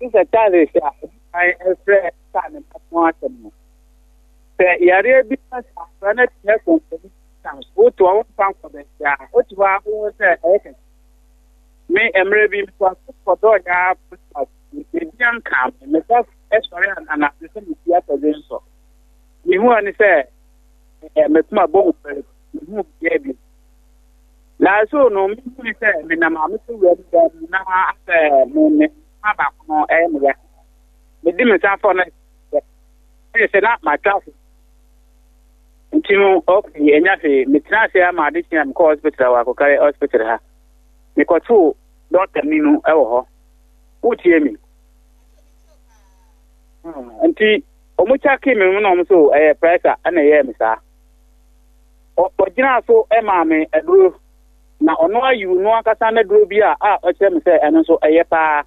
sɛ Charles a kan ɛfrɛ saa ne ba ho asɛm no. Sɛ yareɛ bi na sɛ akora no atumi akɔnkɔni woto a womfa nkɔ baabi a wote hɔ a wohu sɛ ɛyɛ kɛse. Me mmerɛ bi mekɔ kɔdɔɔ yaa biribi anka me, meka ɛsɔre anadwo sɛ mesi akɔdwe nsɔ. Mehu a ne sɛ mɛtuma bɔ mu pɛ, mehu biribiara bi. Na so no mehu ne sɛ menam a mete wura mu dan mu na asɛ me me ma baako no ɛyɛ me ya. Medi me nsa afɔ no ɛyɛ sɛ na matwa ase. Nti no okay, ɛnya hwee. Metena ase ama ade kye a mekɔ hospital wɔ Akokare hospital ha. Mekɔtoo dɔkta ni no ɛwɔ hɔ. Wotie me? Nti ɔmo kyake me mu na ɔmo so ɛyɛ pressure ɛna ɛyɛɛ me saa. Ɔgyina so ɛmaa me aduro na ɔno ayi no ankasa n'aduro bi a a ɔkyerɛ me sɛ ɛno nso ɛyɛ paa.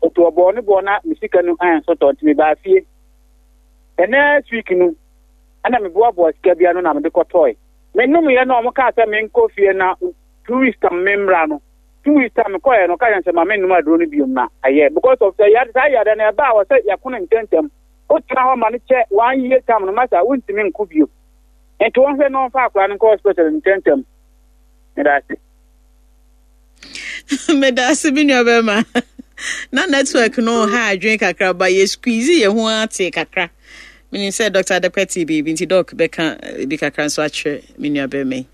Otu ɔbɔɔ ne boɔ na me sika no ɛnso tɔ nti mebaa fie. The next week no ɛna meboaboa sika bi ano na mede kɔtɔe. Menom yɛ na ɔmo kaa sɛ menkɔ fie na two weeks tam memmra no. Two weeks time mekɔɛ no, ɔka kyerɛ sɛ ma mennom aduro no biom na ayɛ because of sɛ yare saa yare no ɛba a wɔ sɛ yɛko no ntɛntɛm. Wotena hɔ ma no kyɛ one year time no masa wontumi nko bio. Nti wɔnhwɛ na ɔmfa akwaraa no nkɔ hospital ntɛntɛm. Meda ase. Meda ase, me nua bɛrima. Na network no ha adwene kakra ba yɛ squeeze yɛ ho ate kakra. Menim sɛ Doctor Adekwa te biribi nti doc bɛka bi kakra nso akyerɛ me nua bɛrima yi.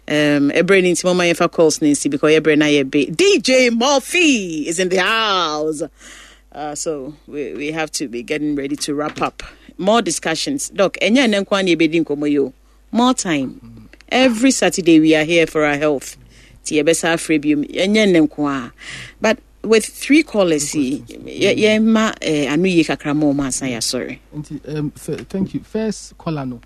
Um, ɛberɛ no nti moma yɛmfa calls no nsi because yɛberɛ no ayɛ be. D J Murphy is in the house. Uh, so we, we have to be getting ready to wrap up. More discussions. Doc, ɛnyɛ ɛnɛ nko a na yɛbɛdi nkɔmmɔ yi o. More time. Every Saturday we are here for our health. Nti yɛbɛsa afrɛ biom. Ɛnyɛ ɛnɛ nko a. But with three callers yi, yɛma eh, ano yie kakra ma ɔmo ansa yɛasɔre. Nti um, thank you. First caller no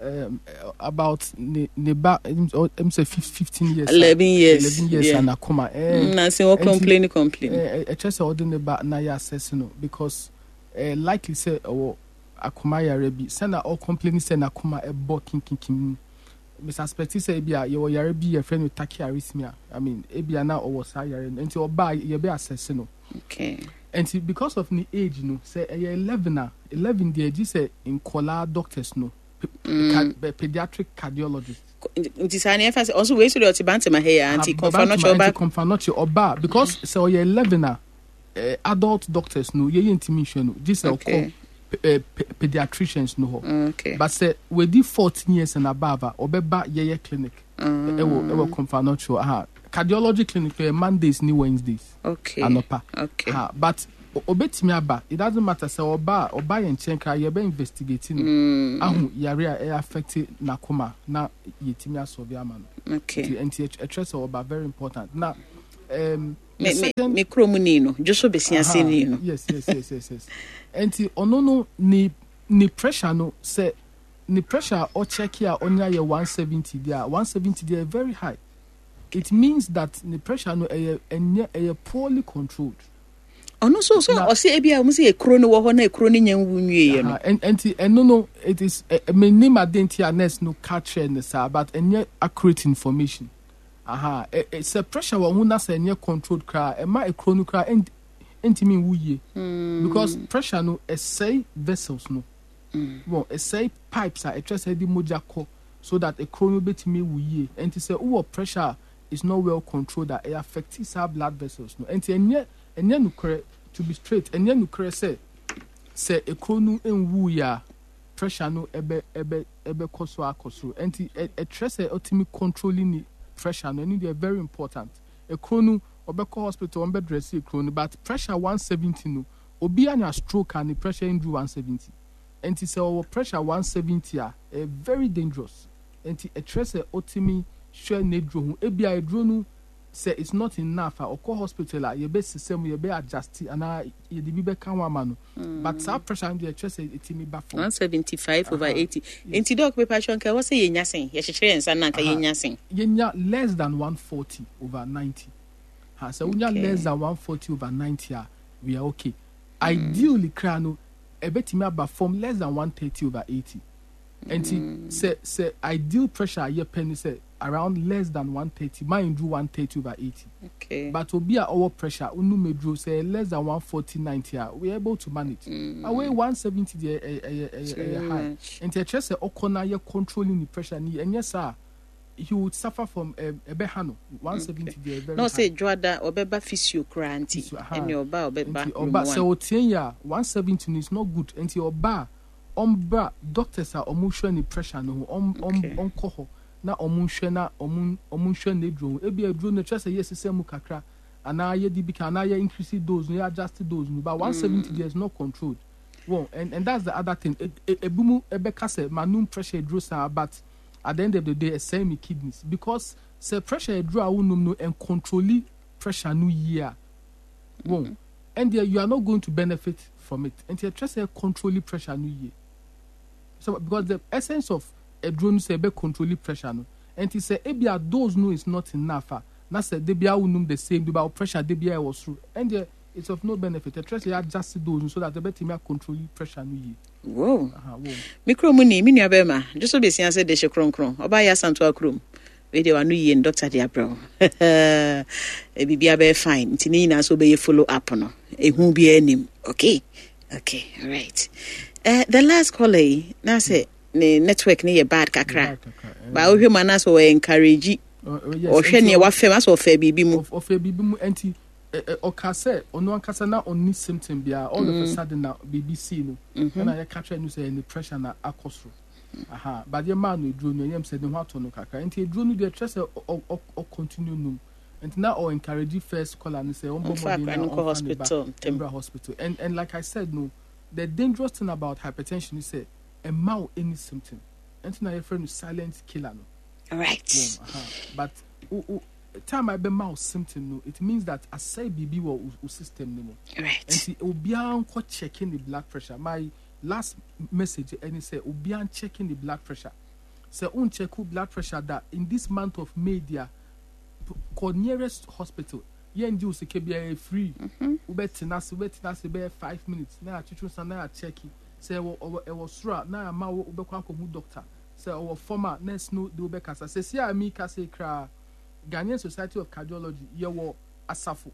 um, about ne ne ba um, sɛ fifteen years, eleven years, eleven years, yeah. And akoma eh, na sɛ wɔ complain complain. Ɛkyɛ sɛ ɔde ne ba na yɛ assess no because eh, likely sɛ ɛwɔ akoma yare bi sɛna ɔcomplain sɛ n'akoma ɛbɔ kinkinkin. Me suspect sɛ ebi a yɛwɔ yare bi yɛfrɛ no tachyarrhythmia. I mean, ebi a na ɔwɔ saa yare no nti ɔba yɛbɛ assess no. Okay. Nti because of ne age no, sɛ ɛyɛ eleven a, eleven deɛ gye sɛ nkɔlaa doctors no, mm. pediatric cardiologist. Nti saa ne yɛfa sɛ ɔnso wei so deɛ ɔte Bantama ha yi a, nti Kɔmfa Nɔkye ɔba. Nti Kɔmfa Nɔkye ɔba because sɛ ɔyɛ eleven a, eh, adult doctors no yɛyɛ ntumi nhwɛ no gye sɛ ɔkɔ eh, pediatricians no hɔ. Okay. But sɛ wɔdi fourteen years and above a, ɔbɛba yɛyɛ clinic ɛwɔ ɛwɔ Kɔmfa Nɔkye aha, cardiology clinic yɛ Mondays ne Wednesdays okay. anɔpa. Okay. Ha, but Obetumi aba. It doesn't matter sɛ ɔba a, ɔba yɛn nkyɛn koraa, yɛbɛ investigate no Mm. ahu yare a ɛyɛ affect n'akoma na yɛtumi asɔre ama no. Okay. Nti nti ɛkyerɛ sɛ ɔba, very important. Na um, me me me kurom ni no dwoso besia se ni no. Yes yes yes yes yes nti ɔno no ne ne pressure no, sɛ ne pressure a ɔcheck a ɔnya yɛ one seventy deɛ, one seventy deɛ, very high. It means that ne pressure no ɛyɛ ɛnyɛ ɛyɛ poorly controlled. Ɔno nso so ɔsɛ ebi a wɔn sɛ ekuro no wɔ hɔ na ekuro no nya nwu nwie yɛ no. Nti ɛno no, it is menim ade nti a nurse no ka kyerɛ ne saa, but ɛnyɛ accurate information. Aha, sɛ pressure wɔ ho na sɛ ɛnyɛ controlled koraa, ɛma ekuro no koraa ɛntumi nwu yie, because pressure no ɛsɛe vessels no wɔn, ɛsɛe pipes a ɛtwerɛ sɛ ɛde mogya kɔ so that ekuro no bɛtumi ewu yie. Nti sɛ wowɔ pressure a is not well controlled a, ɛyɛ affect saa blood vessels no. Nti ɛnyɛ ɛnyɛ nukorɛ, to be straight, ɛnyɛ nukorɛ sɛ sɛ ekuro no nwu yɛ a, pressure no ɛbɛ ɛbɛ ɛbɛkɔ so akɔ soro. Nti ɛtwerɛ sɛ ɔtumi controlling ne pressure no, ɛno deɛ very important. Ekuro no, ɔbɛkɔ hospital, wɔn bɛ dress ekuro no, but pressure one seventy no, obi anya stroke a ne pressure nduru one seventy. Nti sɛ ɔwɔ pressure one seventy a, ɛyɛ very dangerous. Nti ɛtwerɛ sɛ ɔtumi hwɛ n'eduro ho. Ebi a eduro no sɛ it's not enough a, ɔkɔ hospital a, yɛbɛ sisɛ mu, yɛbɛ adjust anaa yɛde bi bɛka ho ama no, but saa pressure no deɛ, ɛkyerɛ sɛ ɛtumi ba fam. one seventy five over eighty. Nti doc, mepa kyɛw, nka ɛwɔ sɛ yɛnya sɛn? Yɛhyehyɛ yɛn nsa na nka yɛnya sɛn? Yɛnya less than one forty over ninety. Ha, sɛ wonya less than one forty over ninety a, we are okay. Ideally kra no, ɛbɛtumi aba fam less than one thirty over eighty. Nti sɛ sɛ ideal pressure a yɛpɛ ne sɛ around less than one thirty, mine do one thirty over eighty. Okay. But obi a ɔwɔ pressure onum eduro, sɛ less than one forty ninety a, we are able to manage. Mm. Away one seventy deɛ, ɛyɛ ɛyɛ ɛyɛ ɛyɛ high. Nti ɛkyerɛ sɛ ɔkɔ na yɛ controlling the pressure ni, ɛnyɛ saa, he would suffer from ɛbɛha no. One seventy deɛ, very high. Na ɔsɛ dwoada ɔbɛba physio koraa, nti ɛne ɔba ɔbɛba. Nti ɔba sɛ ɔtie yɛ a, one seventy no is not good. Nti ɔba a, ɔmbra doctors a ɔmo hwɛ ne pressure no ho, ɔm ɔm ɔnkɔ hɔ na ɔmo nhwɛ na ɔmo ɔmo nhwɛ n'eduro ho. Ebi eduro no kyerɛ sɛ yɛ sisɛ mu kakra anaa yɛ di bi kan anaa yɛ increase dose no, yɛ adjust dose no, but one seventy deɛ is not controlled well. and and that's the other thing. Ebi mu ɛbɛka sɛ ma num pressure eduro saa, but at the end of the day ɛsɛn mi kidneys, because sɛ pressure eduro a wonum no and control pressure no yie a wɔn, and there you are not going to benefit from it. Nti ɛkyerɛ sɛ control pressure no yie, so because the essence of eduro no sɛ ɛbɛ control pressure no. Nti sɛ ebi a dose no is not enough a, na sɛ de bi a wonum the same do, but pressure de bi a ɛwɔ soro, and there it's of no benefit. Ɛkyerɛ sɛ yɛ adjust dose no so that ɛbɛtumi a control pressure no yie. Wow. Me kurom ni, me nua bɛrima dwoso besia sɛ de hyɛ kronkron ɔbaa yɛ asanto akurom wei deɛ, wano yie no, doctor de abrɛ wo, biribia bɛyɛ fine. Nti ne nyinaa nso wobɛyɛ follow up no, ɛhu biara nim. okay okay alright. uh, the last caller yi na sɛ ne network ne yɛ bad kakra ba, wohwɛ mu anaasɛ ɔyɛ encourage, ɔhwɛ neɛ wafɛm asɛ ɔfɛ biribi mu. Ɔfɛ biribi mu. Nti ɔka sɛ ɔno ankasa na ɔnni symptom biara, all of a sudden na biribi sii no, ɛna yɛka kyerɛ no sɛ ne pressure na akɔ soro. Aha, but yɛ maa no eduro no, ɛyɛm sɛ ne ho atɔ no kakra. Nti eduro no deɛ, kyerɛ sɛ ɔ continue num. Nti na ɔ encourage first caller no sɛ ɔmbɔ mmɔden na ɔmfa ne ba mbra hospital. and and like I said no, the dangerous thing about hypertension is sɛ ɛma wo any symptom. Nti na yɛfrɛ no silent killer no. Right. Wɔn, aha. But o o time a ɛbɛma wo symptom no, it means that asɛe biribi wɔ wo system no mu. Right. Nti obiara nkɔ checking the blood pressure. My last message ɛne sɛ obiara checking the blood pressure. Sɛ o check blood pressure da in this month of May deɛ, kɔ nearest hospital, yɛn gye o sika bi, ɛyɛ free. Wobɛtena ase, wobɛtena ase bɛyɛ five minutes na yɛatwitwi nsa na yɛacheck sɛ ɛwɔ ɛwɔ ɛwɔ soro a, na ama wo wobɛkɔ akɔhu doctor. Sɛ ɔwɔ fam a, nurse no de wobɛkasa. Sɛsi a mi kasa yi koraa, Ghanaian Society of Cardiology, yɛwɔ asafo.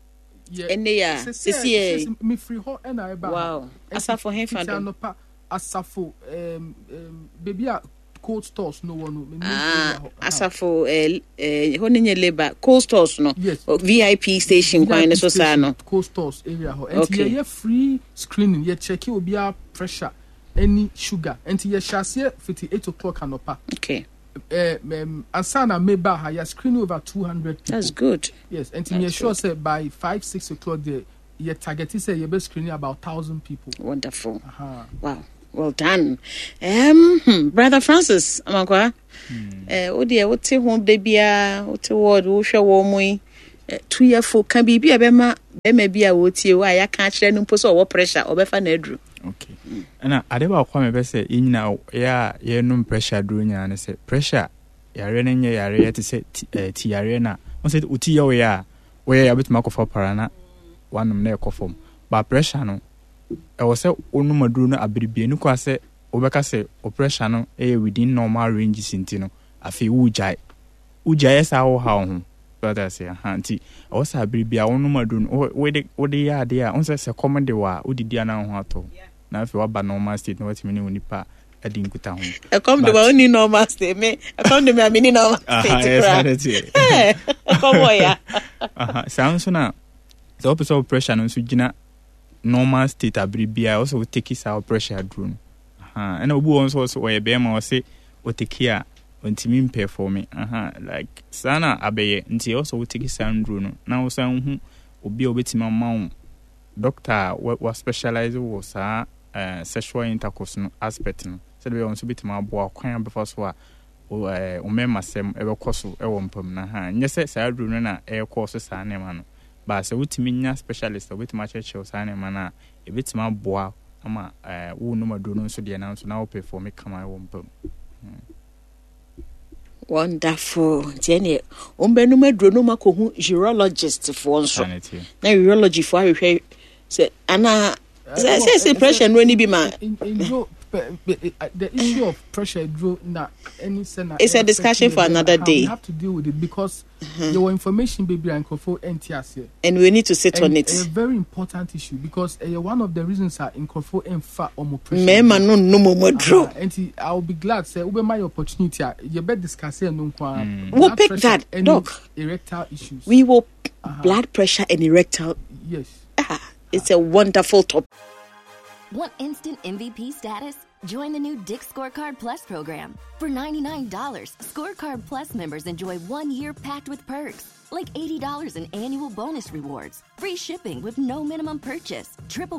Ɛnne yɛ a sisi yɛ. Mefiri hɔ ɛna ɛba. Wow, asafo hefa do? Anɔpa asafo um, um, beebi a Cold Stores no wɔ no. Ah, asafo ɛɛ ɛɛ hɔ ne nye labour Cold Stores no. Yes. V I P station kwan ne so saa no. Cold Stores area hɔ. Nti yɛyɛ free screening, yɛ check obiara pressure ɛne sugar. Nti yɛhyɛ aseɛ fiti eight o'clock anɔpa. Okay. Uh, um, ansa na meba ha, yɛ screen over two hundred people. That's good. Yes, nti me sure sɛ by five six o'clock there Yɛ target sɛ yɛbɛ screen about thousand people. Wonderful. Aha. Wow. Well done. Um, hmm, Brother Francis Amankwa. Eh, wo deɛ wote ho da biara, wote ward, wohwɛ wɔn mu yi. Eh, tuyɛfo ka biribi a ɛbɛma bɛrima bi a wɔtie wo a yɛaka akyerɛ no mpo sɛ ɔwɔ pressure, ɔbɛfa no aduru. Okay. Ɛna ade baako a mepɛ sɛ yɛn nyinaa yɛ a yɛnom pressure duro nyinaa ne sɛ pressure yareɛ no nyɛ yareɛ te sɛ ti, eh, ti yareɛ no a wɔn sɛ wo ti yɛ wo yɛ a woyɛ yɛ a wobɛtumi akɔfa para na wanom na ɛkɔ fam, ba pressure no ɛwɔ sɛ wonom aduro no abere bia ɛnu kwa sɛ wobɛka sɛ wo pressure no ɛyɛ within normal ranges nti no afei wogyae wogyae saa wo haw ho so ate ase. Aha, nti ɛwɔ sɛ abere bia wonom aduro no wo- wode wode yɛ adeɛ a wɔn sɛ sɛ kɔm de wɔ a wodidi a na wo ho atɔ wo. Na afei waba normal state na watumi ne wo nipa adi nkuta ho. Ɛkɔm de But- ma wonni normal state, me ɛkɔm de me a menni normal Aha, state ɛyɛ saa koraa. na ɛteɛ. Eh, ɛkɔm wɔ ya. Aha, saa nso na sɛ wopɛ sɛ wo pressure no nso gyina normal state abere biara, ɛwɔ sɛ wotake saa wo pressure aduro no. Aha, ɛna obi wɔ hɔ nso ɔsɛ ɔyɛ bɛrima, ɔse ɔtake a ɔntumi mpɛfɔme. Aha, like saa na abɛyɛ, nti ɛwɔ sɛ wotake saa nduro no na wosan hu obi a wobɛtumi ama wo doctor a wa wa specialize wɔ saa uh, sexual intercourse no aspect no, sɛdeɛ ɛbɛyɛ a ɔno nso bɛtumi aboa kwan a bɛfa so a wo ɛɛ wo mmarima sɛm ɛbɛkɔ so ɛwɔ mpam no. Ha nyɛ sɛ saa aduro no na ɛrekɔ so saa nneɛma no ba sɛ wotumi nya specialist a wobɛtumi akyerɛkyerɛ wo saa nneɛma no a ɛbɛtumi aboa ama ɛɛ wonom aduro no nso deɛ, nanso na wopɛfɔme kama ɛwɔ mpam. Wonderful. Nti ɛneɛ ɔmbɛnum aduro no ma kɔhu urologist foɔ nso. Saa na ɛteɛ. Na urology foɔ ahwehwɛ sɛ anaa sɛ sɛ sɛ pressure no ani bi ma. In, in, in, the issue of pressure duro na any sɛ It's a discussion for another day. We have to deal with it because there were information bebree a nkurɔfoɔ ɛnte aseɛ. And we need to sit on And it. a very important issue because uh, one of the reasons are nkurɔfoɔ ɛnfa ɔmo pressure. Mmarima no nnom ɔmo aduro. Ah, nti I will be glad sɛ wobɛma yɛ opportunity a yɛbɛ discuss ɛno nko ara. We'll Blood pick pressure that, and Doc. Erectile issues. We will Uh-huh. blood pressure and erectile. Yes. Ah, it's a wonderful topic. Want instant M V P status? Join the new Dick's Scorecard Plus program. For ninety-nine dollars, Scorecard Plus members enjoy one year packed with perks, like eighty dollars in annual bonus rewards, free shipping with no minimum purchase, triple